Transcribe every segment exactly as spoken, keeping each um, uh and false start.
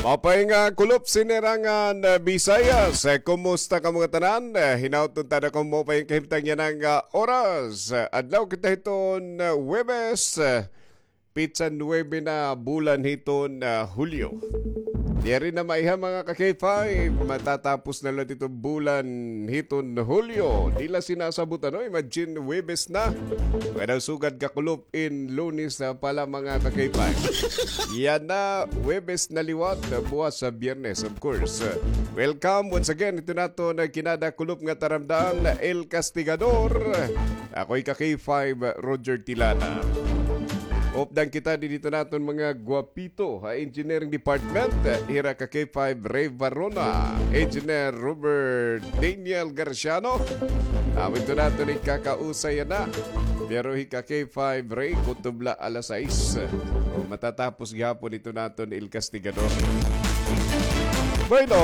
Apay nga kulop sinirangan, ah, Bisayas. Eh, kumusta kamo ngatanan? Eh, hinaot unta na kamo maupay nga kahimtang yana nga, ah, oras. Eh, adlaw kita hiton, ah, Huwebes. Eh, petsa nuebe na bulan hiton, ah, Hulyo. Diri na maiha, mga ka-K five. Matatapos na la iton bulan hiton Hulyo. Di la sinasabot, ano? Imagine, Huwebes na. Kada sugad kakulop in Lunes na pala, mga ka-K five. Yana, Huwebes na liwat, buwas sa Biyernes, of course. Welcome once again. Ito na to na kinada kulop nga taramdan, El Castigador. Ako'y ka-K five, Roger Tilana. Updan kita didto naton mga gwapito ha engineering department. Hira ka-K five, Ray Varona, Engineer Robert Daniel Garciano. Amin to naton ikakausay na. Pero hi ka-K five, Ray, kutob la alas sais. O, matatapos gihapon ito naton El Castigador. Bueno,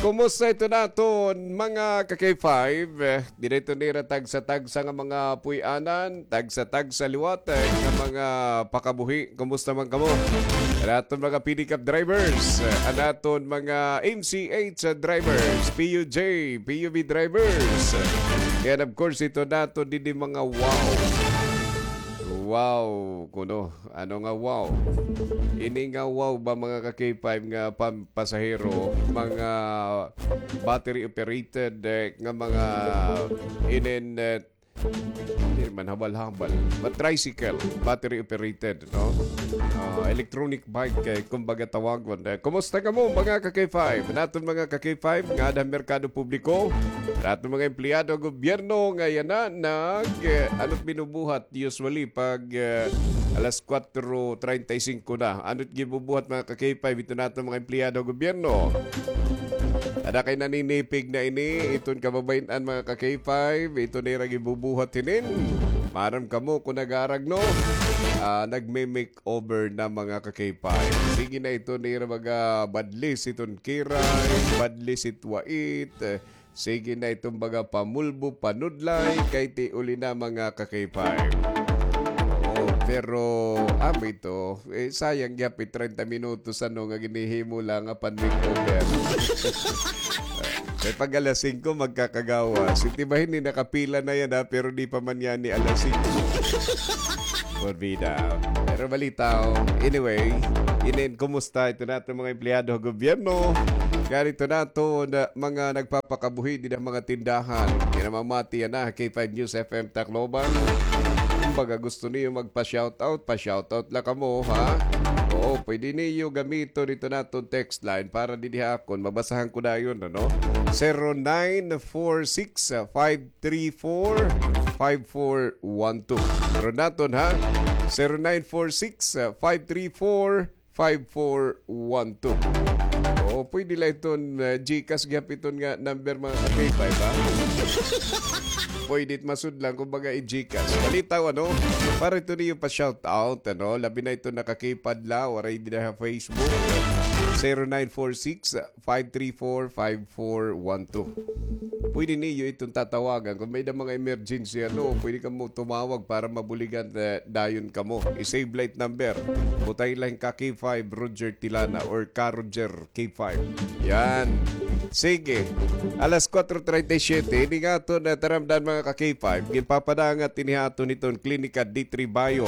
kumusta ito naton, mga ka-K five? Eh, diri ito nira tagsa-tagsa nga mga puy-anan, tagsa-tagsa liwat, eh, nga mga pakabuhi. Kumusta man kamo? An aton mga pedicab drivers, eh, an aton mga M C H drivers, P U J, P U V drivers. And of course, ito naton didi mga wow. Wow, kuno. Ano nga wow? Ini nga wow ba, mga ka-K five, nga pam-, pasahero, mga battery operated, eh, nga mga inin, eh, di man habal-habal, but tricycle, battery operated, no? Ah, electronic bike, eh, kumbaga tawagon. Eh, kumusta kamo, mga ka-K five? Naton mga ka-K five, ngada merkado publiko, naton mga empleyado gobyerno, nga yana nag, eh, ano't binubuhat usually pag, eh, alas kwatro treinta y cinco na. Ano't gibubuhat, mga ka-K five, ito naton mga empleyado gobyerno? Ada kay naninipig na ini, iton kababayin-an, mga ka-K five, ito nira gibubuhat hinin. Maaram kamo kon nag-aarag, no? Ah, nagme-makeover na, mga ka-K five. Sige na, ito nira mga badlis iton kiray, badlis it wait, eh, sige na iton mga pamulbo, panudlay, kay tiuli na, mga ka-K five. Oo, pero, amo ito, eh, sayang gihap it treinta minutos, ano, nga ginhihimo la nga pan-makeover. Kay pag alas singko, magkakagawas. Iti bahin ni nakapila na yana, ha, pero di pa man ngani alas singko. Porbida. Pero balita, oh. Anyway, inin, kumusta ito naton mga empleyado ha gobyerno? Kaya ito naton mga nagpapakabuhi dida ha mga tindahan. Kinamamati yana, K five News F M Tacloban. Kumbaga, gusto niyo magpa-shoutout, pa-shoutout la kamo, ha? Oo, pwede niyo gamiton ito naton text line para didi ha akon. Mabasahan ko dayon, ano? Zero nine four six, five three four, five four one two. Pero naton, ha? Zero nine four six, five three four, five four one two. O, pwede la iton, uh, GCash gihap iton nga number, mga ka-K five, ha? Pwede it masudlan, kumbaga, i-GCash. Balitaw, ano? Para ito niyo pa-shoutout, ano? Labi na ito naka-keypad la, waray dida ha Facebook. Zero nine four six, five three four, five four one two. Pwede niyo iton tatawagan. Kung may da mga emergency, ano, pwede kamo tumawag para mabuligan, eh, dayon kamo. I-save la it number. Butang la hin ka-K five Roger Tilana or ka-Roger K five. Yan. Sige. Alas kuwatro treinta y siyete, ini nga aton, eh, taramdan, mga ka-K five. Ginpapadangat ini ha aton hiton Klinika D three Bio,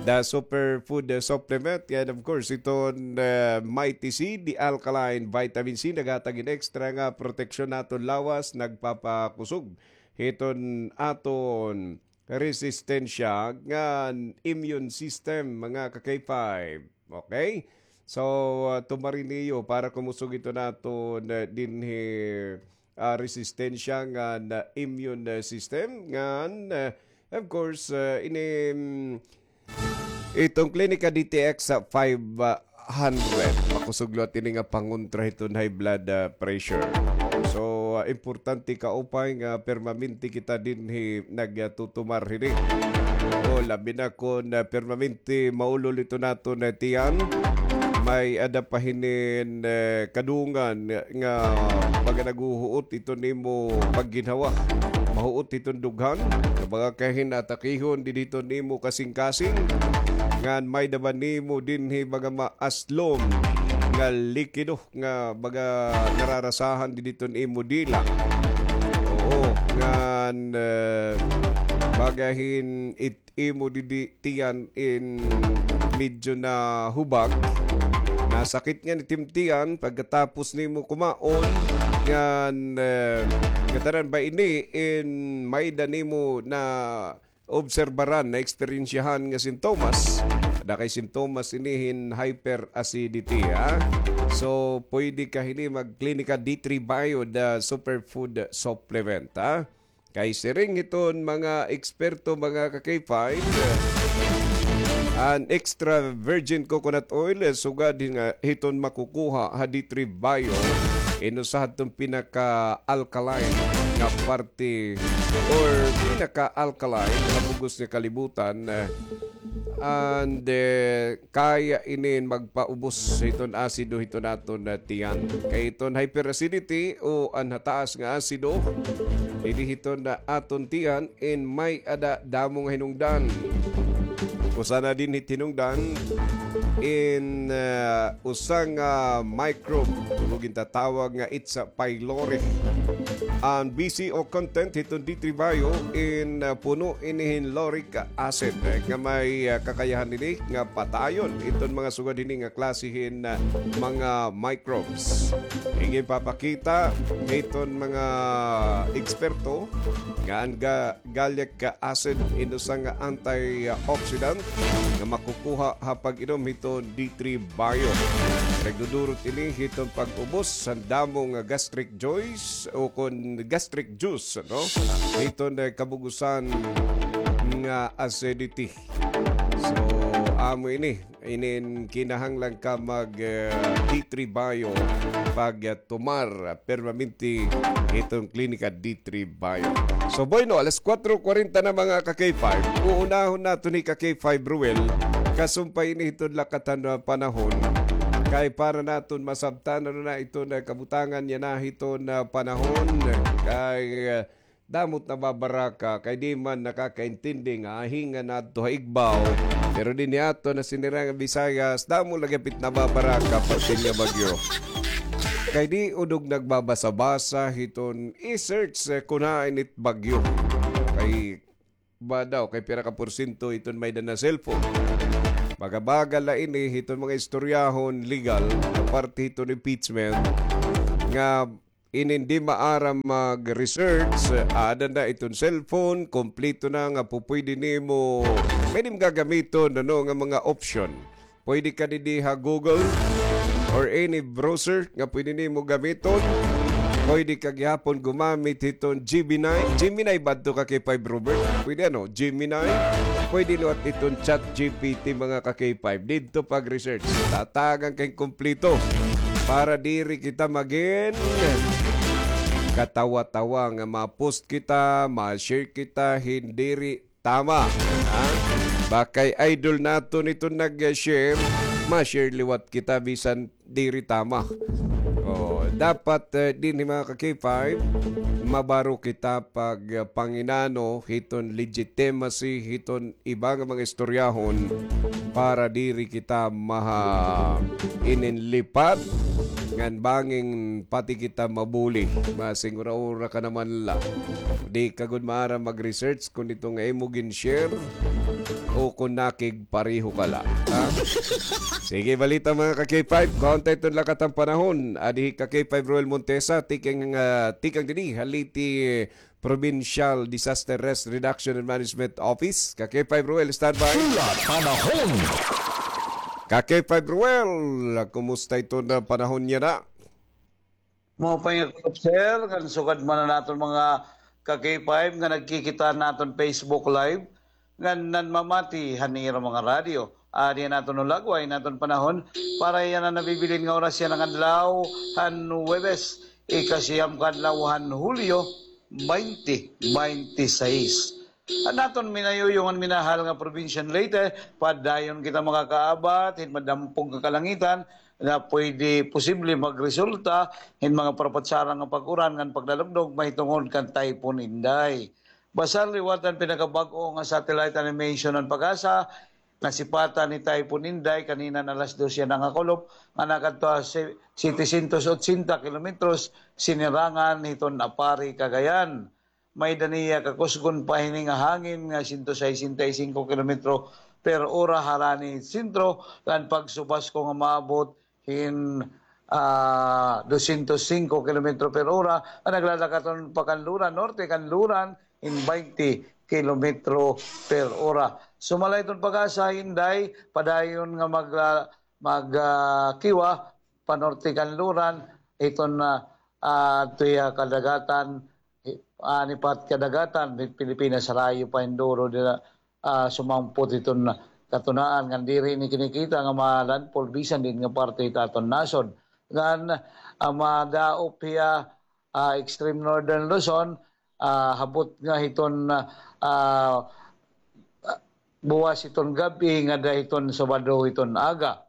the superfood, eh, supplement. And of course, iton, eh, Mighty C, the alkaline vitamin C, naghatag hin extra nga proteksyon ha aton lawas, nagpapakusog hiton aton resistensya ngan immune system, mga ka-K five. Okay? So, uh, tumari niyo para kumusog iton aton, uh, dinhi, uh, resistensya ngan, uh, immune, uh, system ngan, uh, of course, uh, ini, mm, iton Klinika D T X five hundred. Makusog liwat ini nga pangontra hiton high blood, ah, pressure. So, ah, importante kaupay nga permanente kita dinhi nagtutumar hini. O, labi na kon, ah, permanente maulol iton aton, ah, tiyan. May-ada pa hinin, eh, kadungan nga baga naghuhuot iton imo pagginhawa. Mahuot iton dughan. Nga baga kahin atakihon didi iton imo kasingkasing. Ngan may-ada ba nimo dinhi baga maaslom nga likido nga baga nararasahan didi hiton imo dila? Oo, ngan, eh, baga hin it imo didi tiyan in medyo nahubag. Nasakit ngani it im tiyan pagkatapos nimo kumaon. Ngan, eh, ngatanan ba ini in may-ada nimo naobserbaran, naeksperyensyahan nga sintomas? Ada kay sintomas ini hin hyperacidity, ha? So, pwede ka hini mag-Klinika D three Bio, the superfood supplement, ha? Kay siring hiton mga eksperto, mga ka-K five, an extra virgin coconut oil, eh, sugad hin-, nga hiton makukuha ha D three Bio, in usa hadton pinaka-alkaline nga parte or pinaka-alkaline nga bug-os nga kalibutan, eh, and, eh, kaya ini magpaubos hiton asido hiton aton, ah, tiyan. Kay hiton hyperacidity o an hataas nga asido, didi hiton, ah, aton tiyan in may-ada damo nga hinungdan. Usa na dinhi it hinungdan in, ah, usa nga microbe, o gintatawag nga H. pylori. An B C O content hiton D three Bio in, ah, puno ini hin lauric acid, eh, nga may, ah, kakayahan ini nga patayon iton mga sugad hini nga klase hin, ah, mga microbes. Ginpapakita hiton mga eksperto nga an ga-, gallic acid in usa nga antioxidant nga makukuha ha pag-inom hiton D three Bio. Nagdudurot ini hiton pag-ubos han damo nga gastric juice o kon gastric juice, no? Hiton, eh, kabug-osan nga acidity. So, amo ini, inin kinahanglan ka mag, eh, D three Bio pag, eh, tumar permanente hiton Klinika D three Bio. So, bueno, alas kuwatro kwarenta na, mga ka-K five. Uunahon naton hi ka-K five Ruel, kasumpay ini hiton lakat han panahon. Kay para naton masabtan na iton, eh, kabutangan yana hiton, eh, panahon. Kay, eh, damo it nababaraka, kay di man nakakaintindi nga ahingan adto ha igbaw. Pero dinhi aton ha Sinirangan Visayas, damo la gihap it nababaraka parte nga bagyo. Kay di unod nagbabasa-basa hiton i-search, eh, kun hain it bagyo. Kay ba daw, kay pira ka porsyento hiton may-ada na cellphone. Baga-baga la ini hiton mga istoryahon legal nga parte hiton impeachment nga inin di maaram mag-research, ada na iton cellphone, kompleto na nga pupwede nimo, pwede mo gagamiton, ano, nga mga option. Pwede ka didi ha Google or any browser nga pwede nimo gamiton. Pwede ka gihapon gumamit hiton Gemini. Gemini ba adto ka K five Robert? Pwede, ano, Gemini. Pwede liwat iton Chat G P T, mga ka K five. Didto pag-research. Tatagan kay kompleto. Para diri kita magin katawa-tawa nga ma-post kita, ma-share kita, hin diri tama. Ha? Ba kay idol naton iton nag-share, ma-share liwat kita bisan diri tama. Oh, dapat, eh, dinhi, mga ka K five, mabaro kita pag, eh, panginano hiton legitimacy hiton iba nga mga istoryahon para diri kita maha ininlipat ngan bangin pati kita mabuli. Masingura-ura ka naman la. Di ka gud maaram mag-research kon ito nga imo gin-share o kon nakigpareho ka la. Ha? Sige, balita, mga ka K five. Kuhaon ta iton lakat han panahon. Adi hi ka K five Roel Montesa, tikang, ah, tikang dinhi ha Leyte Provincial Disaster Risk Reduction and Management Office. Ka K five Roel, standby. Tula panahon. Ka K five Roel, kumusta iton panahon yana? Maupay nga gab-i, sir, ngan sugad man an aton mga ka K five nga nagkikita han aton Facebook Live, ngan nanmamati han ira mga radyo. Adi an aton hulagway, an aton panahon, para yana nabibilin nga oras yana nga adlaw, han Huwebes, ikasiyam ka adlaw han Hulyo, twenty twenty-six. An aton minayuyong ngan minahal nga probinsya han Leyte, padayon kita makakaabat hin madampog nga kalangitan nga pwede posible magresulta hin mga parapatsara nga pag-uran ngan paglalugdog mahitungod kan Typhoon Inday. Basta liwat an pinakabag-o nga satellite animation han PAGASA, nasipatan ni Typhoon Inday kanina nga alas dos yana nga kulop, nga nakadto ha se-, setecientos ochenta kilometros, sinirangan hiton Aparri, Cagayan. May-ada niya kakusgon pa hini nga hangin nga sento sesenta y singko kilometro per ora harani sentro, ngan pagsubasko nga maabot hin, ah, dosyentos singko kilometro per ora, nga naglalakat-on pa kan luran, norte kan luran, hin baynte kilometro per ora. Sumala hiton PAGASA, Inday, padayon nga mag-, ah, mag-, ah, kiwa, panorte kan luran, hiton, ah, ah, adto hiya kadagatan, hi-, ani pa kadagatan, Pilipinas, harayo pa hin duro dida, ah, sumangpot hiton katunaan, ngan diri ini kinikita nga ma-landfall bisan diin nga parte hit aton nasod. Ngan, ah, madaop hiya, ah, extreme northern Luzon, ah, habot nga hiton, ah, buwas hiton gab-i ngada hiton Sabado hiton aga.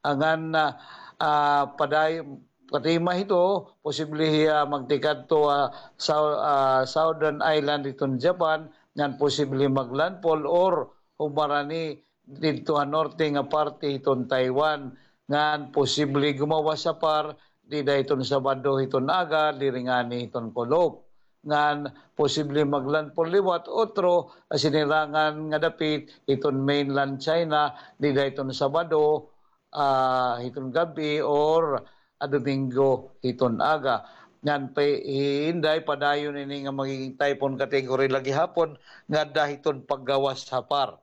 Ngan, ah, ah, paday-, patima hito, posible hiya magtikadto, ah, Sou-, ah, Southern Island hiton Japan, ngan posible mag-landfall or humarani didto ha norte nga parte hiton Taiwan, ngan posible gumawas ha par dida hiton Sabado hiton aga, diri ngani hiton kulop. Ngan posible mag-landfall liwat, otro, ah, sinirangan nga dapit hiton mainland China, dida hiton Sabado, ah, hiton gab-i or, ah, Domingo hiton aga. Ngan pa, hi Inday, padayon ini nga magiging typhoon category la gihapon, ngada hiton paggawas ha par.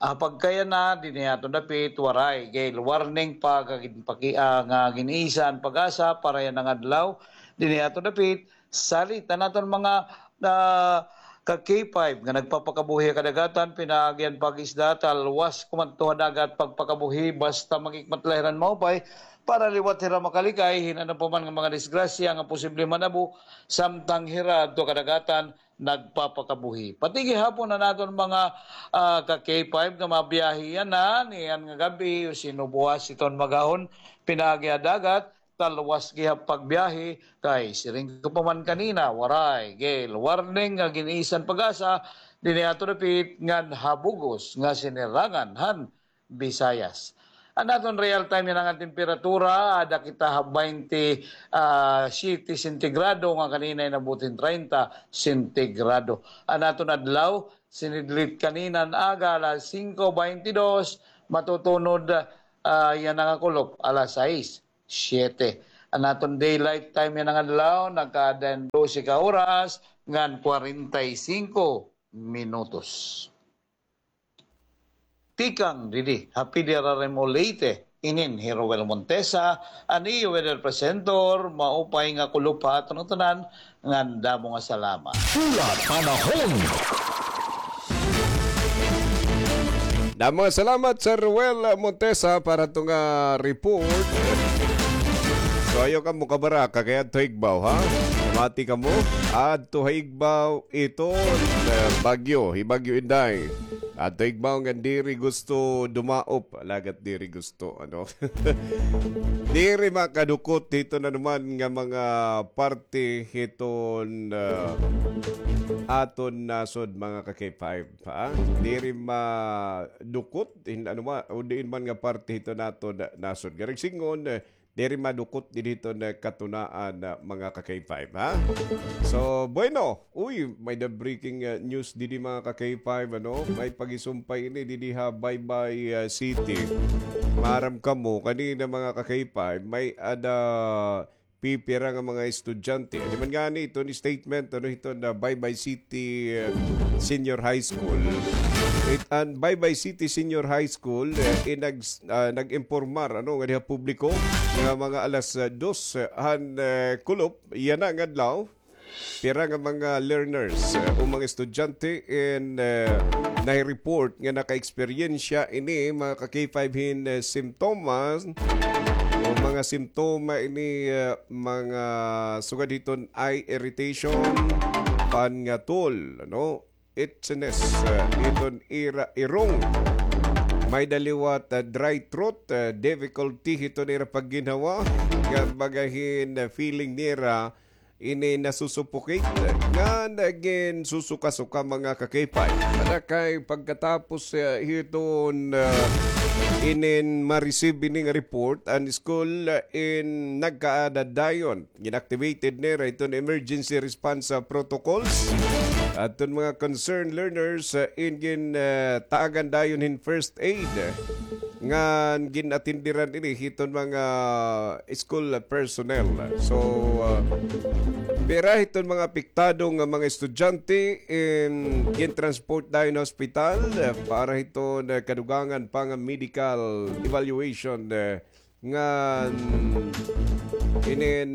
Ah, pagkayana, dinhi aton dapit, waray gale warning pa nga ginpaki-, ah, nga gin-isa an PAGASA para yana nga adlaw. Dinhi aton dapit, salit an aton mga, ah, ka K five nga nagpapakabuhi ha kadagatan, pinaagi an pag-isda, talwas kumadto ha dagat pagpakabuhi, basta mag-ikmat la hira hin maupay, para liwat hira makalikay hin ano pa man nga mga disgrasya nga posible manabo, samtang hira adto ha kadagatan, nagpapakabuhi. Pati gihapon an aton mga, ah, ka K five nga mabiyahe yana, niyan nga gab-i, o sino buwas hiton mag-ahon, pinaagi ha dagat, talwas gihap pagbiyahe, kay siring ko pa man kanina, waray gale warning nga gin-isa an PAGASA, dinhi aton dapit ngan ha bug-os nga sinirangan han Visayas. An aton real time yana nga temperatura, ada kita ha baynte, ah, siyete sentigrado nga kanina inabot hin treinta sentigrado. An aton adlaw, sinidlit kanina nga aga alas singko baynte dos, matutunod, ah, yana nga kulop alas sais, siyete. An aton daylight time yana nga adlaw, nagkaada hin dose ka oras ngan kwarenta y singko minutos. Tikang didi ha P D R R M O Leyte, inin hi Roel Montesa, an iyo weather presenter, maupay nga kulop ha aton ngatanan, ngan damo nga salamat. Pula Panahon. Damo nga salamat, Sir Roel Montesa, para to nga report. So, ayaw kamo kabaraka kay adto ha igbaw, ha? Mati kamo, adto ha igbaw, iton, eh, bagyo, hi Bagyo Inday. Adto ha igbaw ngan diri gusto dumaop, alagad diri gusto, ano? Diri makadukot hiton ano man nga mga parte hiton, ah, aton nasod, mga ka-K five, ha? Diri madukot hin ano man, o diin man nga parte hiton aton nasod. Garing singon, eh, diri madukot didi hiton katunaan, ah, mga ka-K five, ha? So, bueno, uy, may-ada breaking, ah, news didi, mga ka-K five, ano? May pagisumpay ini didi ha Baybay, ah, City. Maaram kamo, kanina, mga ka-K five, may-ada pipira nga mga estudyante. Ano man ngani iton statement, ano, hiton Baybay City, ah, Senior High School. It, an Baybay City Senior High School, eh, inag-, ah, nag-impormar, ano, nga diha publiko nga mga alas, ah, dos, ah, han, eh, kulop, yana nga adlaw, pira nga mga learners, ah, o mga estudyante in, eh, nai-report nga naka-eksperyensya ini, mga ka-K five, hin, eh, simptomas o mga simptoma ini, eh, mga sugad hiton eye irritation, pangatol, ano? Itchiness, ah, hiton ira irong. May-ada liwat, ah, dry throat, ah, difficulty hiton ira pagginhawa, nga baga hin, ah, feeling nira ini nasusuffocate, ngan ginsusuka-suka, mga ka-K five. Ada kay pagkatapos, ah, hiton, ah, inin ma-receive ini nga report, an school, ah, in nagkaada dayon. Gin-activated nira iton emergency response, ah, protocols. Aton mga concerned learners, ah, in gin, ah, taagan dayon hin first aid. Ngan gin-atenderan ini hiton mga school personnel. So, ah, pira hiton mga apektado nga mga estudyante in gin-transport dayon ha ospital, ah, para hiton, ah, kadugangan pa nga medical evaluation, ah, ngan inin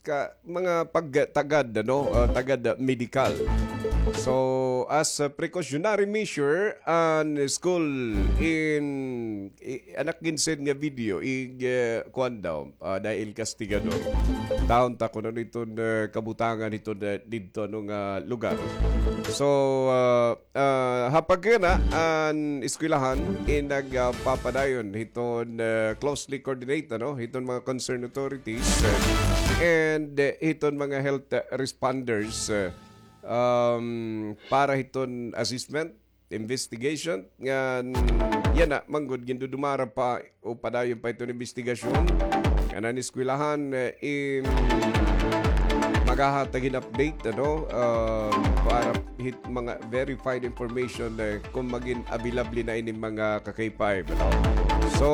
ka, mga pagtagad, ano, ah, tagad, ah, medikal. So, as a precautionary measure, an school in, i-, anak gin-send nga video, ig, eh, kuan daw, ah, dahil kastigador. Taon ta kuno niton, eh, kabutangan hiton, eh, didto, ano, nga lugar. So, ah, Ah, ha pagkana, an eskwelahan in nagpapadayon hiton, ah, closely coordinate, ano, hiton mga concerned authorities, ah, and, ah, hiton mga health, ah, responders, ah, um, para hiton assessment, investigation, ngan yana, manggod gindudumara pa o padayon pa iton imbestigasyon. Kanan eskwelahan, eh, in maghahatag hin update, ano, ah, para hit mga verified information, eh, kung magin available na ini mga ka-K five, ano. So,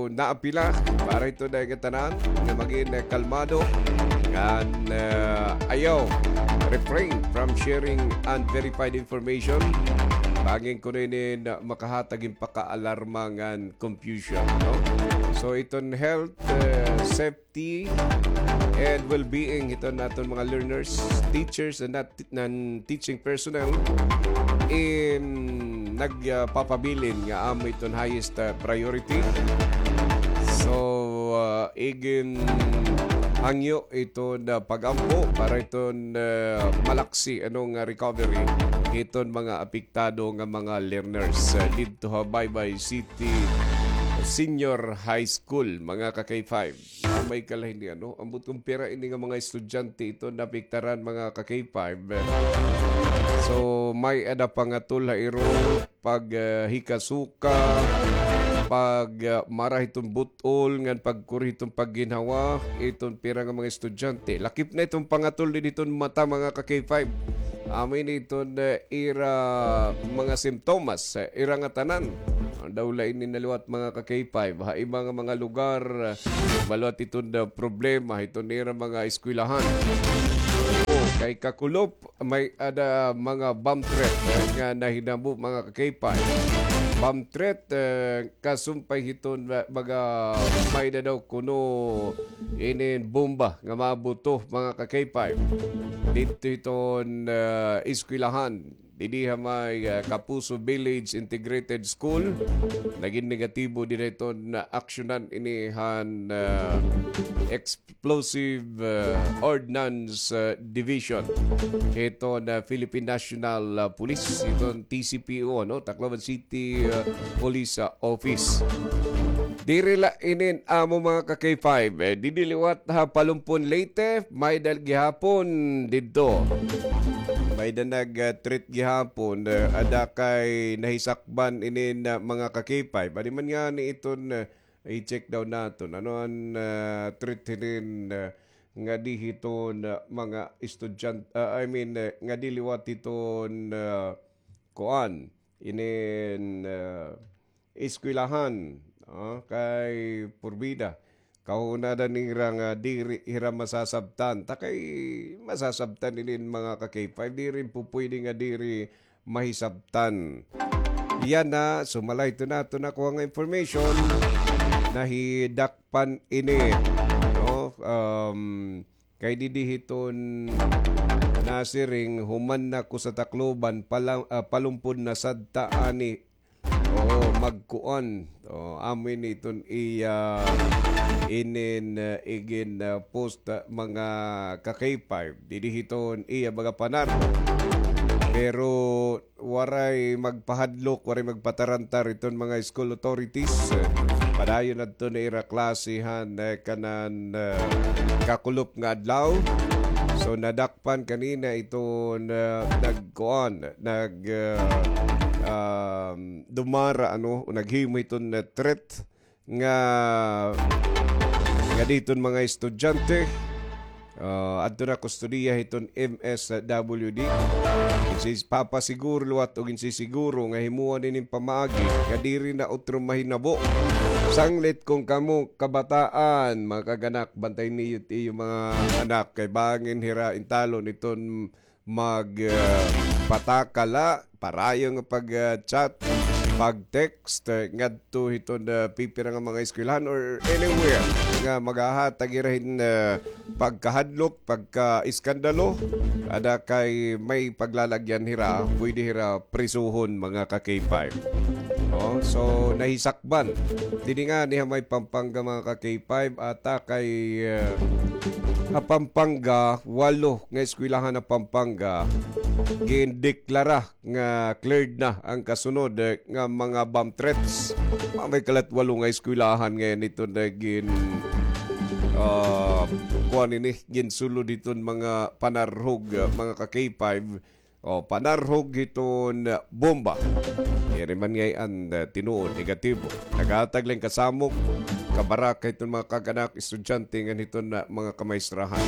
naapila para ito na nga tanan nga magin, eh, kalmado ngan, eh, ayaw, refrain from sharing unverified information. Bangin kuno ini na makahatag hin pakaalarma ngan confusion, no? So, iton health, eh, safety and well-being hiton naton mga learners, teachers, and not, nan teaching personnel in nagpapabilin nga amo iton highest, ah, priority. So, ah, igin hangyo iton, ah, pag-ampo para iton, ah, malaksi, ano, nga recovery hiton mga apektado nga mga learners, ah, didto ha Baybay City Senior High School, mga ka-K five. Ah, may kalahin ni, ano, ambot kon pira ini nga mga estudyante iton naapektaran, mga ka-K five. So, may-ada pangatol ha iro, pag, ah, hikasuka, pag, ah, mara hiton but-ol, ngan pagkuri hiton pagginhawa, iton pira nga mga estudyante. Lakip na iton pangatol didi hiton mata, mga ka-K five. Amo ini iton, eh, ira mga simptomas, eh, ira ngatanan. Daw la ini naliwat, mga ka-K five. Ha iba nga mga lugar, eh, maliwat iton, eh, problema hiton ira mga eskwelahan. O, kay Kakulop, may-ada mga bomb threat, eh, nga nahinabo, mga ka-K five. Bomb threat, eh, kasumpay hiton, eh, mga may-ada daw kuno inin bomba nga mabuto, mga ka-K five. Didto hiton, eh, eskwelahan. Didi ha may, eh, Kapuso Village Integrated School. Nagin negatibo dida hiton aksyonan ini han, eh, ex- Explosive, uh, Ordnance, uh, Division. Hiton, uh, Philippine National, uh, Police, hiton T C P O, no? Tacloban City, uh, Police, uh, Office. Diri la inin amo, mga ka-K five, eh, didi liwat ha Palumpon, Leyte, may-ada gihapon didto. May-ada nag, uh, treat gihapon, uh, ada kay nahisakban inin, uh, mga ka-K five. Adi man ngani iton, uh, I-check daw naton. Ano an, ah, threat hinin, ah, ngadi hiton, ah, mga estudyant-, ah, I mean, ah, ngadi liwat hiton, ah, kuan, inin, ah, eskwelahan, ah, kay purbida. Kahuna da nira nga diri hira masasabtan. Ta kay masasabtan inin mga ka-K five, diri pupwede nga diri mahisabtan. Yana, sumala hiton aton nakuha nga information, nahidakpan ini, no? Um, kay didi hiton nasiring, human na ko sa Tacloban, pala-, ah, Palumpon na sadta ani. Oo, magkuan. O, amo ini iton iya inin, ah, igin, ah, post, ah, mga ka-K five. Didi hiton iya mga panar. Pero waray magpahadlok, waray magpatarantar iton mga school authorities. Padayon adto na ira klase han, eh, kanan, eh, kakulop nga adlaw. So, nadakpan kanina iton, eh, nagkuan, nag, eh, um, dumara, ano, o naghimo hiton, eh, threat nga, nga diton mga estudyante, ah, adto na kustodiya hiton M S W D. Ginsis-, papasiguro liwat o ginsisiguro nga himuan ini pamaagi nga diri na utro mahinabo. Sanglit kon kamo kabataan, mga kag-anak, bantay niyo it iyo mga anak kay bangin hira intalon iton mag, ah, patakala, parayo nga pag, ah, chat, pag text, ah, ngadto hiton, ah, pipira nga mga eskwelahan or anywhere nga maghahatag hira hin, ah, pagkahadlok, pagkaiskandalo, ada kay may paglalagyan hira, pwede hira prisuhon, mga ka-K five. Oh, so nahisakban. Didi ngani ha may Pampanga, mga ka-K five, ata kay, ah, ha Pampanga, walo nga eskwelahan ha Pampanga gindeklara nga cleared na an kasunod, eh, nga mga bomb threats. May kalat walo nga eskwelahan ngay-an ito na gin, ah, kuan ini, ginsulod iton mga panarhog, ah, mga ka-K five. O, panarhog hiton, ah, bomba. Diri man ngay-an, ah, tinuod, negatibo. Naghatag lang kasamok, kabaraka hiton mga kag-anak, estudyante ngan hiton, ah, mga kamaestrohan.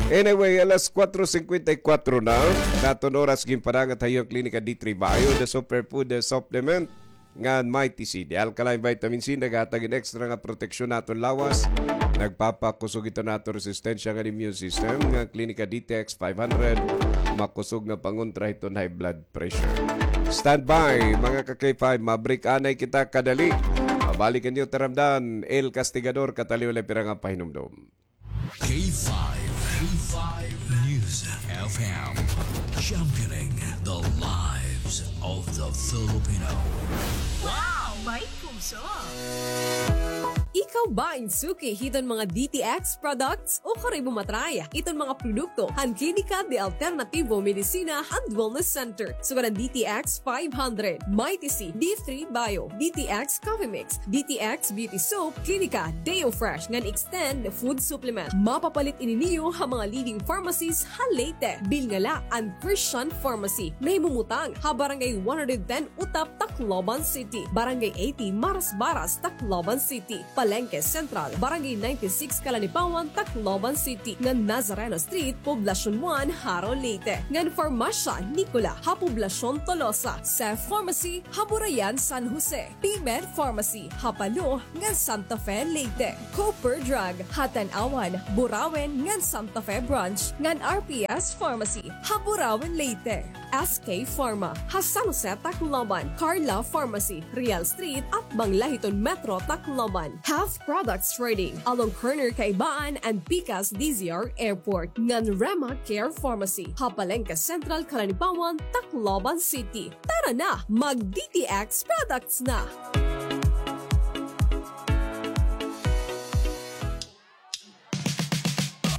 Anyway, alas kuwatro singkwenta y kuwatro na. Naton oras ginpadangat ha iyo an Klinika D three Bio, the superfood, the supplement. Ngan Mighty C, the alkaline vitamin C, naghatag hin extra nga proteksyon ha aton lawas. Nagpapakusog ito ha aton resistensya ngan immune system. Ngan Klinika D T X five hundred, makusog nga pangontra hiton high blood pressure. Standby, mga ka-K five, ma-break anay kita kadali. Mabalik an iyo taramdan, El Castigador, kataliw la pira nga pahinumdom. K five, K five News F M, championing the lives of the Filipino. Wow! May puso! Ikaw ba in suki hiton mga D T X products o karoy mo matry iton mga produkto han Klinika de Alternativo Medicina and Wellness Center? Sugad an D T X five hundred, Mighty C, D three Bio, D T X Coffee Mix, D T X Beauty Soap, Klinika Deo Fresh ngan Extend Food Supplement. Mapapalit ini niyo ha mga leading pharmacies ha Leyte. Bilnga la an Christian Pharmacy, nahimumutang ha Barangay one hundred ten Utap, Tacloban City, Barangay eighty Marasbaras, Tacloban City, Palengke Central, Barangay ninety-six Calanipawan, Tacloban City, ngan Nazareno Street, Poblacion one, Jaro, Leyte, ngan Farmasya Nicola ha Poblacion Tolosa, Seth Pharmacy ha Burayan, San Jose, P-Med Pharmacy ha Palo ngan Santa Fe, Leyte, Cooper Drug ha Tanauan, Burauen ngan Santa Fe Branch, ngan R P S Pharmacy ha Burauen, Leyte, S K Pharma ha San Jose, Tacloban, Carla Pharmacy, Real Street, atbang la hiton Metro Tacloban, Health Products Trading along corner Kaibaan and Pikas D Z R Airport, ngan Rema Care Pharmacy ha Palengke Central, Calanipawan, Tacloban City. Tara na, mag D T X products na!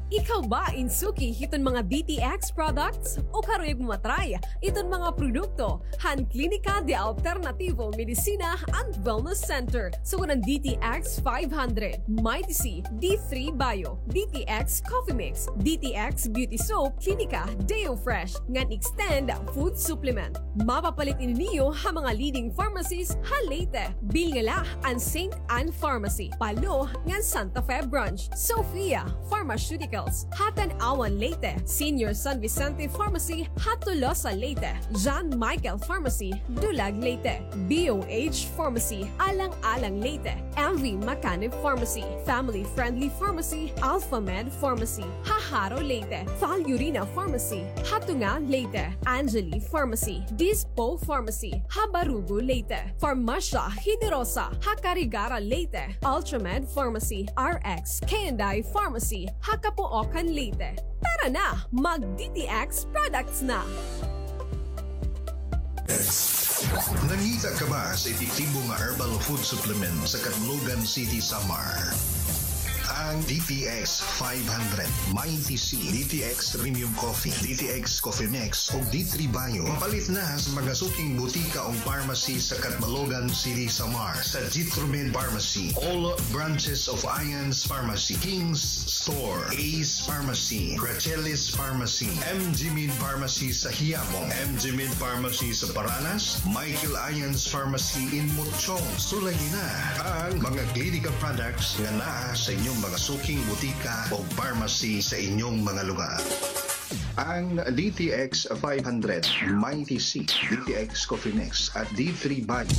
Ikaw ba in suki hiton mga D T X products o karuyag mo matry iton mga produkto han Klinika de Alternativo Medicina and Wellness Center? Sugad an D T X five hundred, Mighty C, D three Bio, D T X Coffee Mix, D T X Beauty Soap, Klinika Deo Fresh, ngan Extend Food Supplement. Mapapalit ini niyo ha mga leading pharmacies ha Leyte. Bilnga la an Saint Anne Pharmacy, Palo, ngan Santa Fe Branch, Sofia, Pharmaceuticals ha Tanauan, Leyte, Senior San Vicente Pharmacy ha Tolosa, Leyte, John Michael Pharmacy, Dulag, Leyte, B O H Pharmacy, Alang-alang, Leyte, M V Macanib Pharmacy, Family Friendly Pharmacy, Alpha Med Pharmacy ha Jaro, Leyte, Val Urina Pharmacy ha Tunga, Leyte, Angeli Pharmacy, Dispo Pharmacy ha Barugo, Leyte, Farmasya Generosa ha Carigara, Leyte, Ultramed Pharmacy, R X K and I Pharmacy ha Capoocan, Leyte. Tara na, mag D T X products na! Nangita ka ba sa epektibo nga herbal food supplement sa Catlogan City, Samar? ang D T X five hundred, Mighty C, D T X Premium Coffee, D T X Coffee Mix, ug D three Bio. Mapalit na sa mga suking butika o pharmacy sa Catbalogan City, Samar, sa Jitromed Pharmacy, all branches of Ian's Pharmacy, King's Store, Ace Pharmacy, Rachelis Pharmacy, M G Min Pharmacy sa Hiabong, M G Min Pharmacy sa Paranas, Michael Ian's Pharmacy in Mutchong. Sulayi na ang mga Clinica products nga naa sa inyong mga suking butika o pharmacy sa inyong mga lugar. Ang D T X five hundred, Mighty C, D T X Coffee Mix, at D three Bio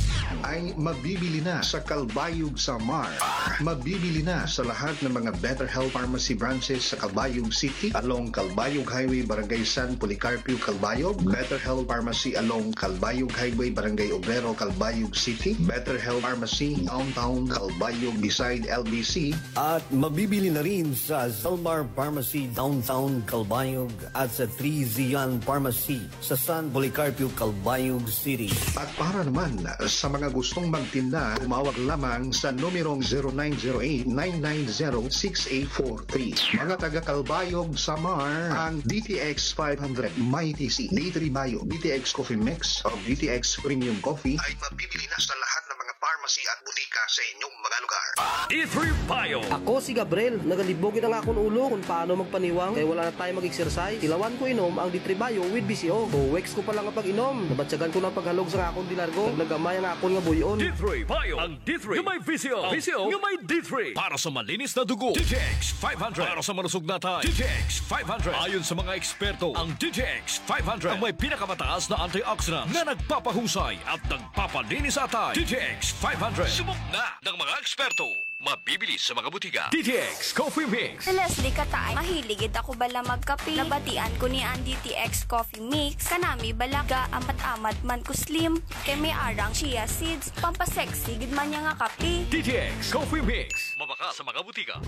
ay mabibili na sa Calbayog, Samar. Mabibili na sa lahat ng mga Better Health Pharmacy branches sa Calbayog City, along Calbayog Highway, Barangay San Policarpio, Calbayog. Better Health Pharmacy along Calbayog Highway, Barangay Obrero, Calbayog City. Better Health Pharmacy, Downtown Calbayog, beside L B C. At mabibili na rin sa Zalmar Pharmacy, Downtown Calbayog, at sa Three Zion Pharmacy sa San Policarpio, Calbayog City. At para naman sa mga gustong magtinda, tumawag lamang sa numerong zero nine zero eight nine nine zero six eight four three. Mga taga Calbayog, Samar, ang D T X five hundred, Mighty C, D three Bio, D T X Coffee Mix, o D T X Premium Coffee ay mabibili na sa lahat ng mga pharmacy at butika sa inyong mga lugar. D three Bio. Ako si Gabriel. Nagalibog gid an akon ulo kon paano magpaniwang kay wala na tayo mag-exercise. Tilawan ko inom ang D three Bio with B C O. Two weeks ko pa la nga pag-inom, nabatyagan ko na an paghalog sa akon delargo. Nag-, naggamay an akon nga buy-on. D three Bio. Ang D three nga may B C O. B C O nga may D three. Para sa malinis na dugo, D T X five hundred. Para sa malusog na atay, D T X five hundred. Ayon sa mga eksperto, ang D T X five hundred ang may pinakamataas na antioxidants na nagpapahusay at nagpapalinis sa atay. D T X five hundred. Subok na ng mga eksperto. Mabibili sa mga butika. D T X Coffee Mix. Si Leslie Kataay, mahilig gid ako bala magkape. Nabatian ko ni an D T X Coffee Mix. Kanami bala, gaamat-amat man ko slim. Kay may arang chia seeds, pampasexy gid man niya nga kape. D T X Coffee Mix. Mabakal sa mga butika.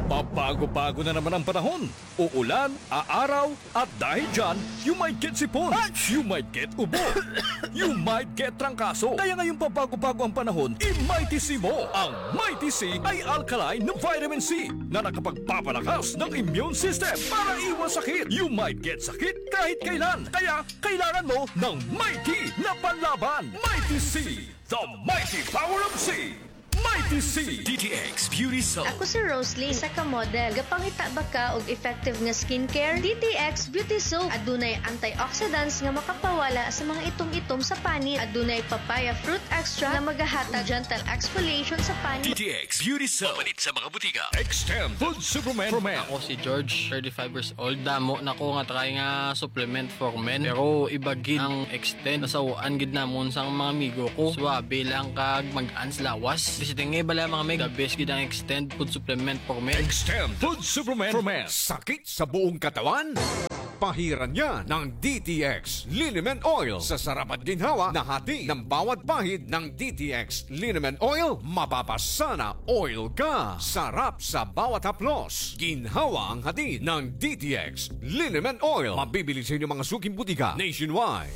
Pabago-bago na naman ang panahon. Uulan, aaraw, at dahil dyan, you might get sipon. You might get ubo. You might get trangkaso. Kaya ngayong pabago-bago ang panahon, i-Mighty C mo. Ang Mighty C ay alkaline na vitamin C na nakapagpapalakas ng immune system para iwas sakit. You might get sakit kahit kailan. Kaya kailangan mo ng Mighty na panlaban. Mighty C, the mighty power of C. Mighty C. D T X Beauty Soap. Ako si Rosalie, isa ka model. Gapangita ba ka og effective nga skincare? D T X Beauty Soap. Adunay antioxidants nga makapawala sa mga itom-itom sa panit. Adunay papaya fruit extract nga magahatag gentle exfoliation sa panit. D T X Beauty Soap. Mapalit sa mga butika. Extend Food Supplement for Men. Ako si George, thirty-five years old. Damo na ko nga try nga supplement for men. Pero iba gid ang Extend. Nasaw-an gid namon sa mga amigo ko. Suabe lang kag mag-ans lawas. Basta tingay bala mga mig, the best gid ang Extend food supplement for men. Extend food supplement for men. Sakit sa buong katawan? Pahiran niya ng D T X Liniment Oil. Sa sarap at ginhawa na hati ng bawat pahid ng D T X Liniment Oil, mapapasana oil ka. Sarap sa bawat haplos. Ginhawa ang hatid ng D T X Liniment Oil. Mabibili sa inyong mga suking butika nationwide.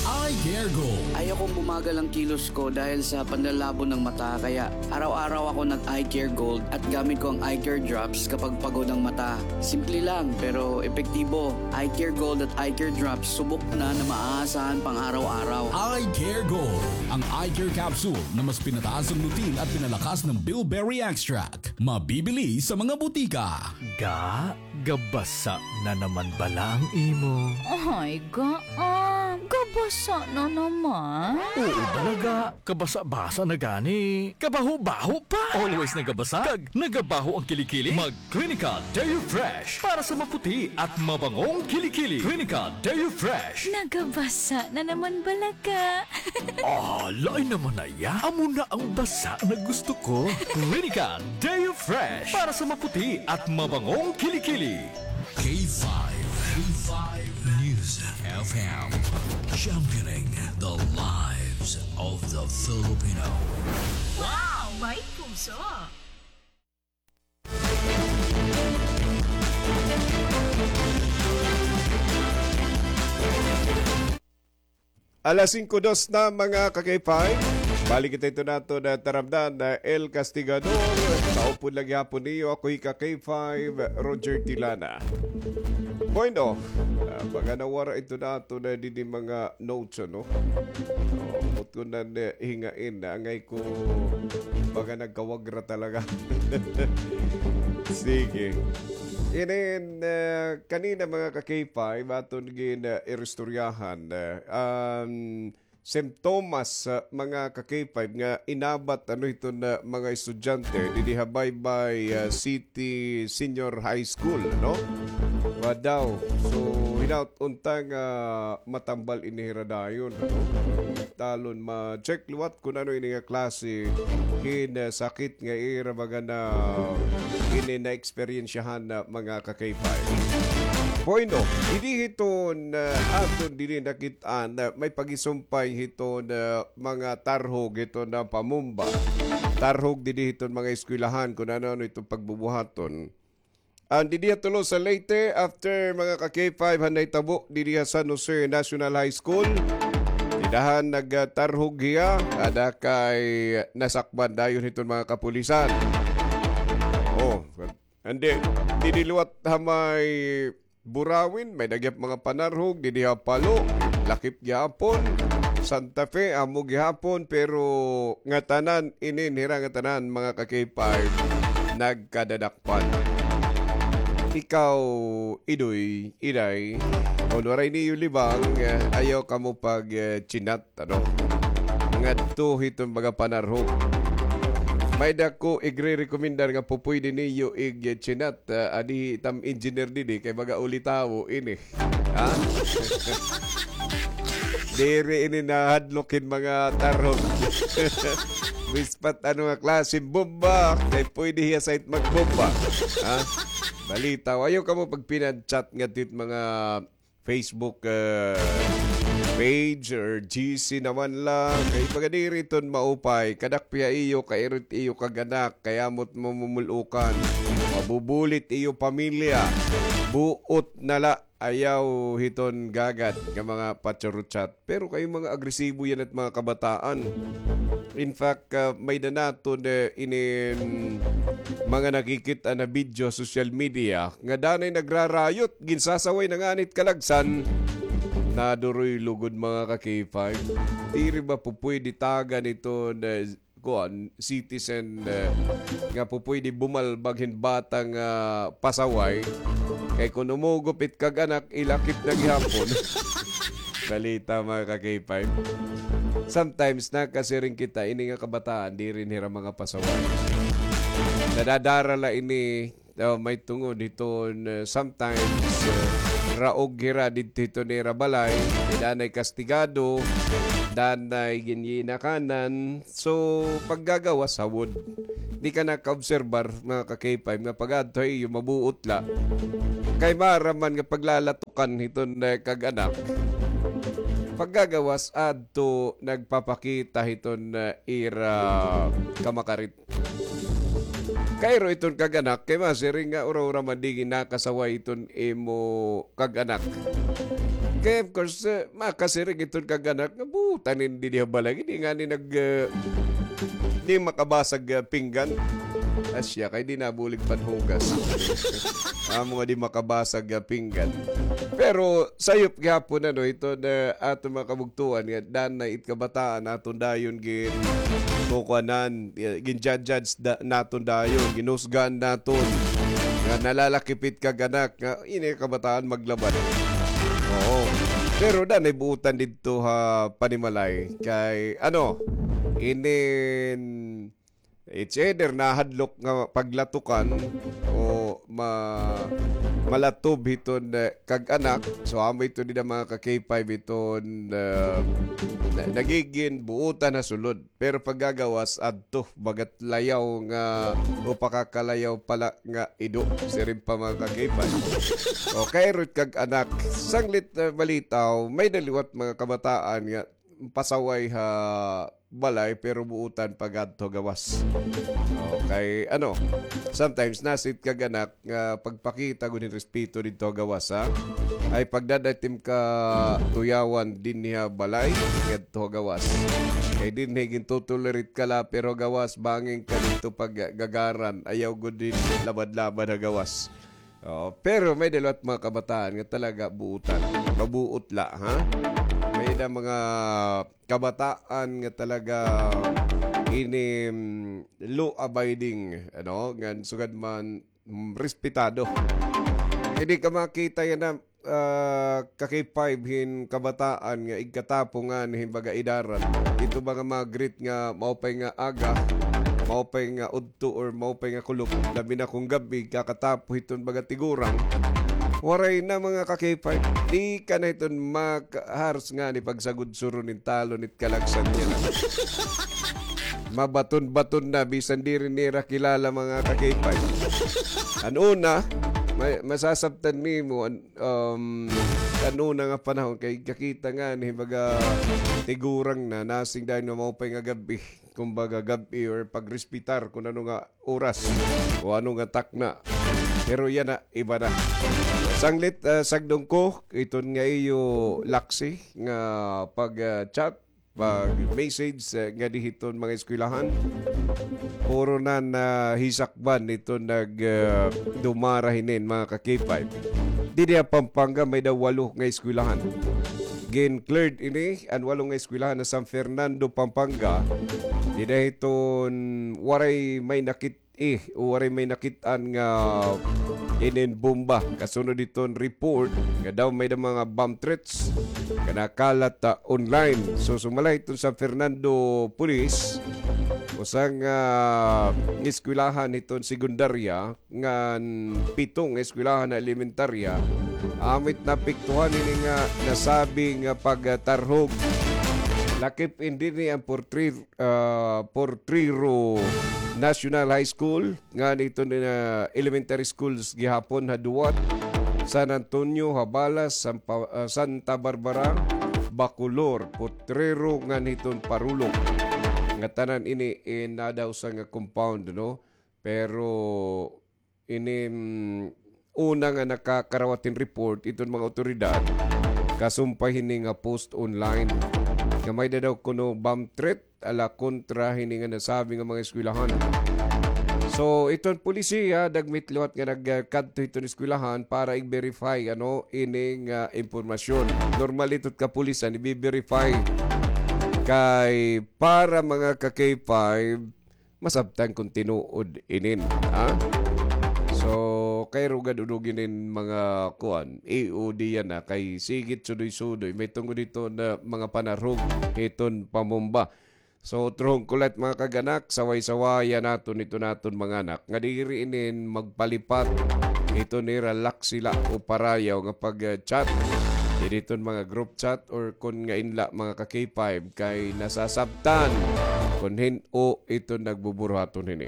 Eye Care Gold. Ayokong bumagal ang kilos ko dahil sa panlalabo ng mata, kaya araw-araw ako nag-Eye Care Gold at gamit ko ang Eye Care Drops kapag pagod ang mata. Simple lang, pero epektibo. Eye Care Gold at Eye Care Drops, subok na na maaasahan pang araw-araw. Eye Care Gold, ang eye care capsule na mas pinataas ang lutein at pinalakas ng bilberry extract. Mabibili sa mga butika. Ga, gabasa na naman bala ang imo? Ay, Ga, ah, gabasa na naman? Oo, bala, Ga. Kabasa-basa na gani. Kabaho-baho pa. Always nagabasa? Kag nagabaho ang kilikili? Mag Clinical Deo Fresh para sa maputi at mabangong kilikili. Clinical Deo Fresh. Nagabasa na naman bala, Ga. Ah, lain naman na iya. Amo na ang basa na gusto ko. Clinical Deo Fresh para sa maputi at mabangong kilikili. K five, K five News F M, championing the lives of the Filipino. Wow, may puso! Alas singko dos na, mga ka-K five. Hali kita ito naton, ah, taramdan, ah, El Castigador. Kaupod la gihapon niyo, ako hi ka K five, Roger Tilana. Bueno, ah, baga nawara ito naton, ah, didi mga notes, ano? Oh, mutkunan, eh, hingain, angay ko baga nagkawagra talaga. Sige. Inin, ah, kanina, mga ka K five, aton gin, ah, iristoryahan, ah, um, simptomas, ah, mga ka K five, nga inabat, ano, hiton, ah, mga estudyante didi ha Baybay, ah, City Senior High School, no? Wa daw. So, hinaut unta nga matambal ini hira dayon, no? Talon ma-check liwat kun ano ini nga klase hin, ah, sakit nga ira baga na ini na eksperyensyahan na mga ka K five. Bueno, didi hiton, ah, aton didi nakit-an, ah, may pagisumpay hiton, ah, mga tarhog hiton na pamumba. Tarhog didi hiton mga eskwelahan kun ano-ano iton pagbubuhaton. An didi ha Tolosa, Leyte, after mga ka K five han nahitabo didi ha San Jose National High School. Dida han nagtarhog hiya, ada kay nasakban dayon hiton mga kapulisan. Oh, andi, didi liwat ha may Burawin, may-ada gihap mga panarhog, didi ha Palo, lakip gihapon, Santa Fe, amo gihapon, pero ngatanan, inin hira ngatanan, mga ka K five, nagkadadakpan. Ikaw, Idoy, Iday, kon waray niyo libang, eh, ayaw kamo pag, eh, chinat ano, ngadto hiton mga panarhog. May-ada ko igre-rekomendar nga pupuydi niyo igchinat, ah, adi tam engineer didi kay baga ulitawo ini. Ha? Diri ini nahadlok hin mga tarhog. Bispat ano nga klase bomba, kay puydi hiya sa it magbomba. Ha? Balitaw, ayaw kamo pagpinag-chat ngadto hit mga Facebook, eh, page or G C naman la. Kay baga diri iton maupay. Kadakpi ha iyo, kairit iyo kag anak. Kay amo it mamumul-okan. Mabubulit iyo pamilya. Buot na la. Ayaw hiton gagad nga mga patsurutsyat. Pero kay mga agresibo yana it mga kabataan. In fact, ah, may-ada naton, eh, inin mga nakikit-an na video, social media, nga danay nagrarayot, ginsasaway na ngani it kalagsan. Naduroy lugod, mga ka K five. Diri ba pupuydi tagan iton, eh, kuan, citizen, eh, nga pupuydi bumalbag hin bata nga pasaway? Kay kun umugop it kag-anak, ilakip na gihapon. Balita, mga ka K five. Sometimes, nakasiring kita, ini nga kabataan, diri hira mga pasaway. Nadadara la ini, oh, may tungod hiton, eh, sometimes, eh, raog hira didto hiton ira balay, danay kastigado, danay ginyinakanan. So, paggagawas, hawod. Di ka nakaobserbar, mga ka K five, nga pag-adto ha iyo, mabuot la. Kay maaram man nga paglalatukan hiton, eh, kag-anak. Paggagawas, adto nagpapakita hiton, eh, ira kamakarit. Kairo iton kag-anak, kay masiring nga ura-ura man di ginakasaway iton imo kag-anak. Kay of course, eh, makasiring iton kag-anak nga butan ini didi ha balay, di ngani nag, eh, di makabasag, eh, pinggan. Asya, kay di nabulig panhugas. Amo nga di makabasag, eh, pinggan. Pero sayop gihapon, ano, iton aton mga kabugtoan nga danay it kabataan naton dayon gin kukuanan, eh, gin-judge da-, naton dayon, ginhusgahan naton. Nga nalalakip it kag-anak, nga ini kabataan maglabad. Oo. Pero danay buutan didto ha panimalay. Kay, ano, inin, it's either nahadlok nga paglatukan o ma-, malatob hiton, eh, kag-anak. So, amo ito dida, mga ka K five, iton, eh, na-, nagigin buutan ha sulod. Pero paggagawas, adto, bagat layaw nga, o pakakalayaw pala nga ido, siring pa, mga ka K five. O, kairo it kag-anak. Sanglit, eh, balitaw, may-ada liwat mga kabataan nga pasaway ha balay, pero buutan pag-adto gawas. Okay, ano, sometimes nasit kag anak nga pagpakita gud hin respeto didto gawas, ha? Ay pagdadatim ka tuyawan dinhi ha balay, ngadto gawas. Kay dinhi gintotolerate ka la, pero gawas bangin ka didto paggagaran, ayaw gud din labad-labad ha gawas. Oo, pero may-ada liwat mga kabataan nga talaga buutan. Mabuot la, ha? May-ada mga kabataan nga talaga ini, mm, law-abiding, ano, ngan sugad man, mm, respetado. Diri ka makita yana, ah, ka-K five hin kabataan nga igkatapo ngani hin baga edaran. Ito ba nga mag-greet nga maupay nga aga, maupay nga udto or maupay nga kulop, labi na kon gab-i, kakatapo hiton baga tigulang. Waray na mga ka-K five. Di ka na hiton makaharos ngani pagsagudsuron hin talon it kalagsan niya na. Mabaton-baton na, bisan diri nira kilala mga ka-K five. An una, ma-, masasabtan nimo, an, um, an una nga panahon, kay kakita ngani hin baga tigulang na, nasing dayon nga maupay nga gab-i. Kumbaga, gab-i or pagrespetar kung ano nga oras o ano nga takna. Pero yana, iba na. Sanglit, ah, sagdon ko, iton nga iyo laksi nga pag, ah, chat, pag-message, ah, ngadi hiton mga eskwelahan. Puro na nahisakban iton nag, ah, dumara hinin mga ka-K five. Didi ha Pampanga may-ada walo nga eskwelahan. Gin-cleared ini an walo nga eskwelahan ha San Fernando, Pampanga. Dida hiton waray may nakit-i o waray may nakit-an nga inin bomba. Kasunod hiton report nga daw may-ada mga bomb threats nga nakalat, ah, online. So, sumala hiton San Fernando Police, usa nga eskwelahan hiton sekundarya, ngan pito nga eskwelahan nga elementarya, amo it naapektuhan hini nga nasabi nga pagtarhog. Lakip in dinhi an Portre-, ah, Potrero National High School, ngan iton, ah, elementary schools gihapon ha Duwat, San Antonio, Habalas, San Pa-, ah, Santa Barbara, Bacolor, Potrero, ngan hiton Parulong. Nga tanan ini, eh, naa daw sa nga compound, no? Pero ini, mm, una nga nakakarawat hin report iton mga awtoridad, kasumpay hini nga post online nga may-ada daw kuno bomb threat ala kontra hini nga nasabi nga mga eskwelahan. So, iton pulisiya, dagmit liwat nga nagkadto hiton eskwelahan para i-verify, ano, ini nga impormasyon. Normal ito it kapulisan, i-verify kay para mga ka-K five, masabtan kon tinuod inin, ha? So, kay rugad udugi inin mga kuan, E O D yana, kay sigit sudoy-sudoy, may tungod hiton mga panarhog hiton pambomba. So, utrohon ko la it mga kag-anak, saway-sawayan naton iton aton mga anak nga diri inin magpalipat hiton ira laksi la o parayaw nga pag-chat. Diri hiton mga group chat or kon ngain la mga ka-K five kay nasasabtan kon hin-o iton nagbuburuhaton hini.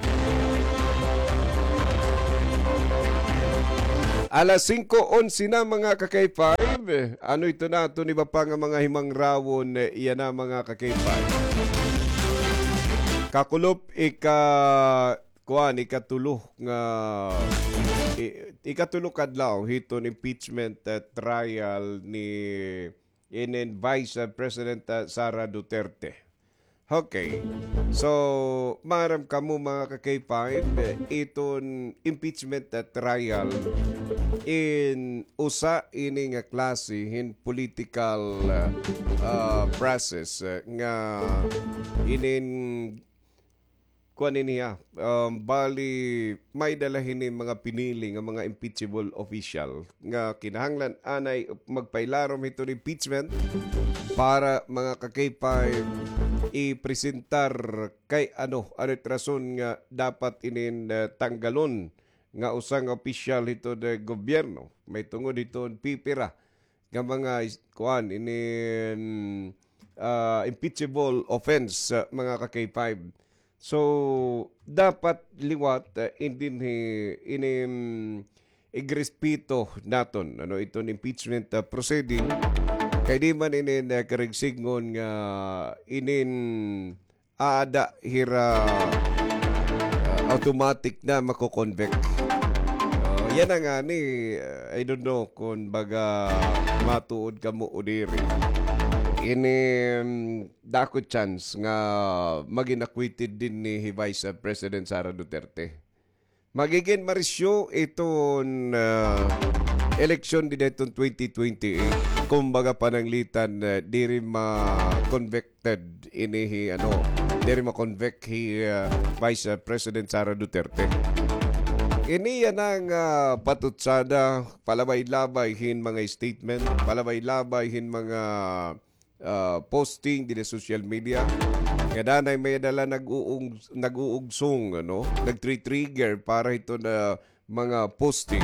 Alas singko onse na, mga ka-K five. Ano ito na aton iba pa nga mga himangrawon, eh, yana, mga ka-K five. Kakulop ika-, kuan, ikatulo nga, i-, ikatulo ka adlaw hiton impeachment, eh, trial ni inin Vice, ah, President, ah, Sara Duterte. Okay. So, maaram kamo, mga ka-K five, eh, iton impeachment, ah, trial in usa ini nga klase hin political, ah, ah, process, eh, nga inin kuan ini, ah, um, bali, may-ada la hini mga pinili nga mga impeachable official nga kinahanglan anay magpailarom hiton impeachment para, mga ka-K five, ipresentar kay ano, ano it rason nga dapat inin, eh, tanggalon nga usa nga opisyal hiton gobyerno. May tungod hiton pipira nga mga is-, kuan, inin, ah, impeachable offense, ah, mga ka-K five. So, dapat liwat, ah, in dinhi, inin, igrespeto naton, ano, iton impeachment, ah, proceeding. Kay di man inin, eh, karigsigngon nga inin aada hira, ah, automatic na mako-convict. Oh, yana ngani, ah, I don't know kon baga matuod kamo o diri. Ini, mm, dako chance nga magin acquitted dinhi hi Vice President Sara Duterte. Magigin marisyo iton, ah, eleksyon dida iton twenty twenty-eight. Kumbaga pananglitan, ah, diri ma-convicted ini hi, ano, diri ma-convict hi, ah, Vice, ah, President Sara Duterte. Ini yana nga, ah, patutsada, palabay-labay hin mga statement, palabay-labay hin mga ah, posting dida social media. Nga danay may dala nag-uung-, nag-uugsong, ano, nagtri-trigger para hito na mga posting.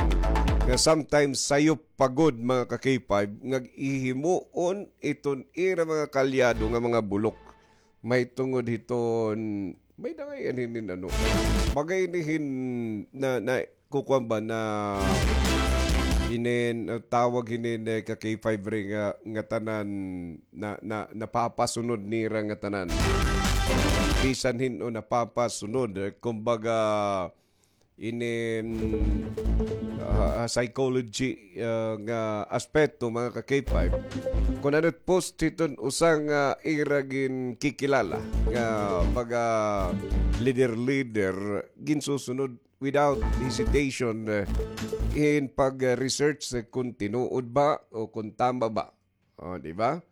Nga sometimes sayop pa gud, mga ka-K five, nga ihimuon iton ira mga kalyado nga mga bulok. May tungod hiton, may dangay anhinin ano. Bagay nihin na, na kukuan ba na inin, uh, tawag hinin, eh, ka-K five ri nga, nga tanan na, na, napapasunod nira nga tanan. Bisan hin-o napapasunod, eh, kumbaga, inin, ah, psychology, ah, nga aspeto, mga ka-K five. Kun ano post hiton usa nga ira ginkikilala nga mga leader-leader, ginsusunod without hesitation, eh, in pag-research, eh, kung tinuod ba o kung tama ba. O, di ba?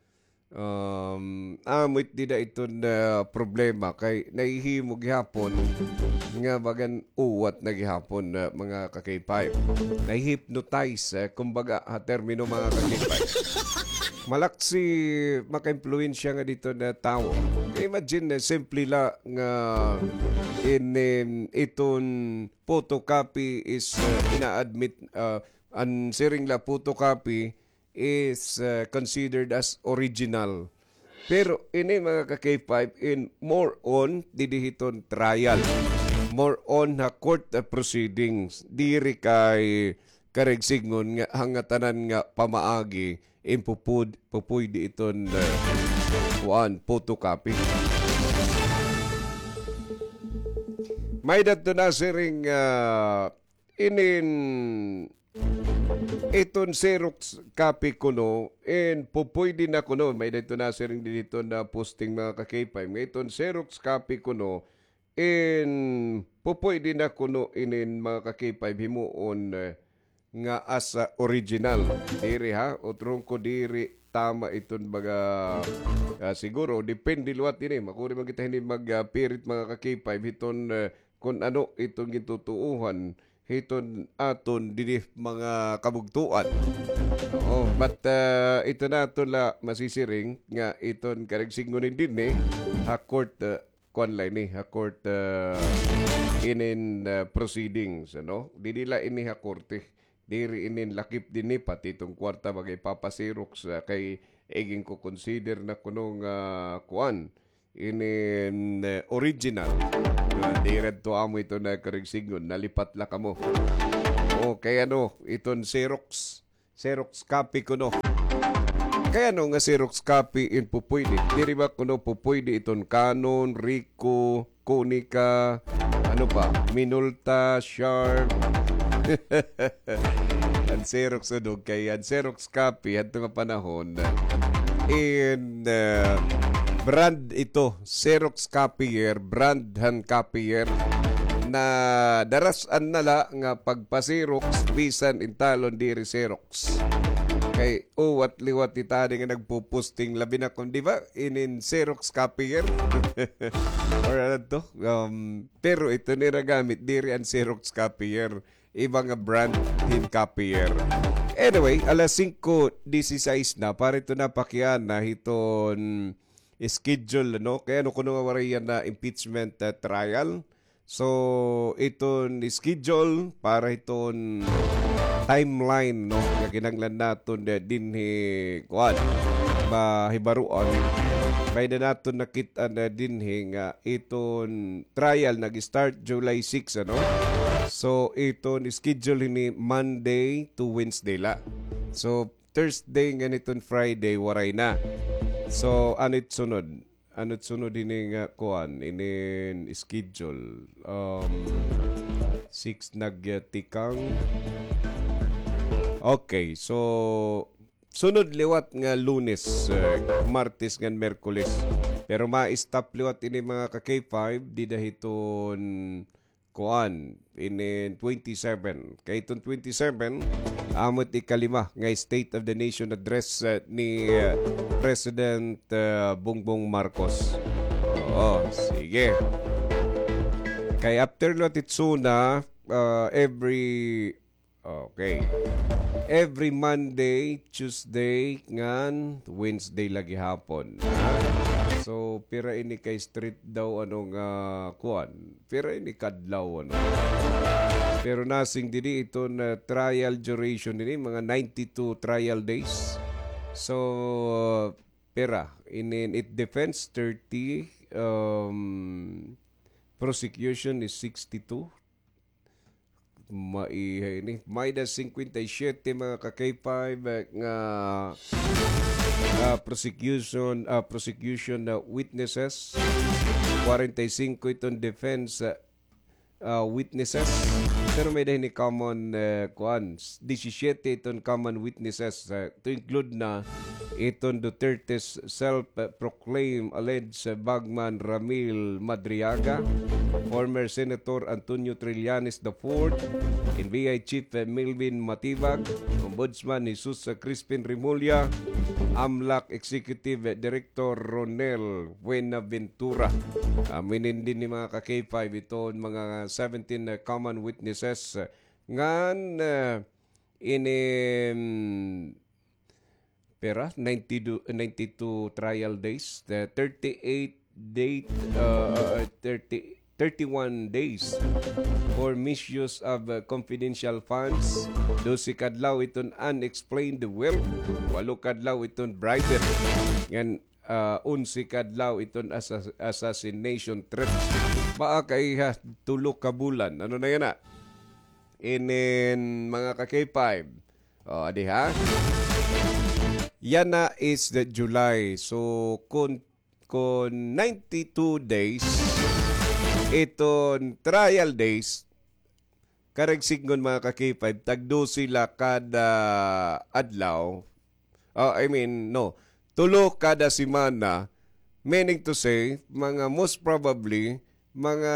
Um, amo it dida iton, ah, problema kay nahihimo gihapon nga bagan uwat na gihapon, ah, mga ka-K five. Nahi-hypnotize, eh, kumbaga, ha termino, mga ka-K five. Malaksi maka-impluwensya nga dito na tawo. Imagine, eh, simple la nga in, in, iton photocopy is, uh, ina-admit, uh, an siring la photocopy is, uh, considered as original. Pero ini, mga ka-K five, in more on didi hiton trial, more on ha court, uh, proceedings, diri kay karigsigngon nga hangatanan nga pamaagi in pupud-, pupuydi iton, uh, kuan, photocopy. May-ada to nasiring, uh, inin iton Xerox copy kuno, in pupuydi na kuno, may-ada to nasiring didi hiton na posting, mga ka-K five, nga iton Xerox copy kuno, in pupuydi na kuno inin, mga ka-K five, himuon, eh, nga as, ah, original. Diri ha, utrong ko, diri tama iton mga, ah, siguro, depende liwat ini. Makuri man kita hini mag, ah, pirit, mga ka-K five, hiton, eh, kun ano iton gintutuohan hiton aton didi mga kabugtoan. Oo, but, ah, ito na aton la masisiring nga iton karigsigngon dinhi ha court, ah, kuan la ini, ha court, ah, inin, ah, proceedings, ano? Didi la ini ha korte. Diri inin lakip dinhi, pati iton kwarta baga ipapa-Xerox, ah, kay iginko-consider na kuno nga kuan, inin, eh, original. Ah, diri adto amo ito na karigsigngon, nalipat la kamo. O, kay ano, iton Xerox, Xerox copy kuno. Kay ano nga Xerox copy in pupuydi? Diri ba kuno pupuydi iton Canon, Ricoh, Konica, ano pa? Minolta, Sharp. An Xerox, udog kay an Xerox copy hadto nga panahon, in, uh, brand ito, Xerox copier, brand han copier, na daras-an na la nga pagpa-Xerox, bisan in talon diri Xerox. Kay uwat liwat it adi nga nagpuposting, labi na kon, di ba, inin Xerox copier or ano to, um, pero ito nira gamit, diri an Xerox copier, iba nga brand hin copier. Anyway, alas singko disisais na, para ito na pakiana hiton schedule, no? Kay ano kuno nga waray yana impeachment, uh, trial. So, iton schedule para hiton timeline, no, nga kinahanglan naton, eh, dinhi, kuan, mahibaroan. May-ada naton nakit-an, eh, dinhi nga iton trial nag-start July six, ano? So, iton schedule hini Monday to Wednesday la. So, Thursday ngan iton Friday, waray na. So, ano it sunod? Ano it sunod ini nga kuan, inin schedule? Um, six nagyatikang. Okay, so sunod liwat nga Lunes, eh, Martes ngan Miyerkules. Pero ma-stop liwat ini mga ka-K five, dida hiton kuan, inin twenty-seven. Kay iton twenty-seven, amo it ikalima nga State of the Nation Address, eh, ni, eh, President, eh, Bongbong Marcos. Oo, sige. Kay after liwat it SONA, ah, every, okay. Every Monday, Tuesday, ngan Wednesday la gihapon. Ha? So, pira ini ka straight daw, ano nga, kuan? Pira ini ka adlaw, ano? Pero nasiring didi iton, ah, trial duration ini, mga ninety-two trial days. So, pira? Inin it defense, thirty, um, prosecution is sixty-two. Maiha ini. May-ada singkwenta y siyete mga ka-K five, eh, nga, ah, prosecution, ah, prosecution na witnesses. Kwarenta y singko iton defense, ah, ah, witnesses. Pero may-ada hini common, eh, kuan, s-, disisiyete iton common witnesses, eh, to include na iton Duterte's self-proclaimed alleged bagman Ramil Madriaga, former Senator Antonio Trillanes the fourth, N B I Chief Melvin Matibag, Ombudsman Jesus Crispin Remulla, AMLAC Executive Director Ronel Buenaventura. Amo ini dinhi mga ka-K five iton mga seventeen, uh, common witnesses, uh, ngan, uh, ini, mm, pera, ninety-two, ninety-two trial days, the thirty-eight date, uh, uh, thirty, thirty-one days for misuse of, uh, confidential funds, dose ka adlaw iton unexplained wealth, walo ka adlaw iton bribery, ngan, uh, onse ka adlaw iton assas-, assassination threat. Baa kay ha, tulo ka bulan. Ano na yana? Inin mga ka-K five. O, adi ha? Yana is the July. So, kun, kun ninety-two days, iton trial days, karuyag sidngon mga ka-K five, tag-dose la kada adlaw. O, I mean, no. Tulo kada semana, meaning to say, mga most probably, mga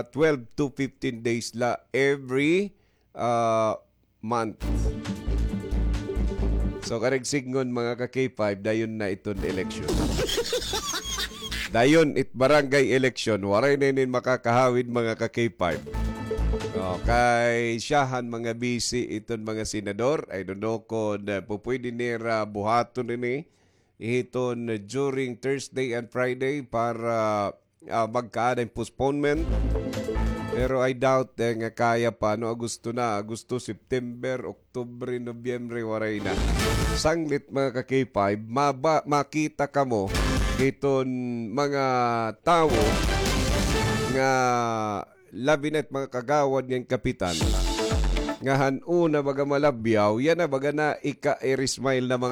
twelve to fifteen days la every, ah, month. So, karuyag sidngon, mga ka-K five, dayon na iton election. Dayon it barangay election, waray na inin makakahawid, mga ka-K five. O, kay syahan mga busy iton mga senador. I don't know kon, uh, pupwede nira buhaton ini hiton during Thursday and Friday para, ah, magkaada hin postponement. Pero I doubt, eh, nga kaya pa, no? Agosto na, Agosto, September, Oktubre, Nobyembre, waray na. Sanglit, mga ka-K five, maba-, makita kamo hiton mga tawo nga labi na it mga kagawad ngan kapitan nga han una baga malabyaw, yana baga na ika-air smile na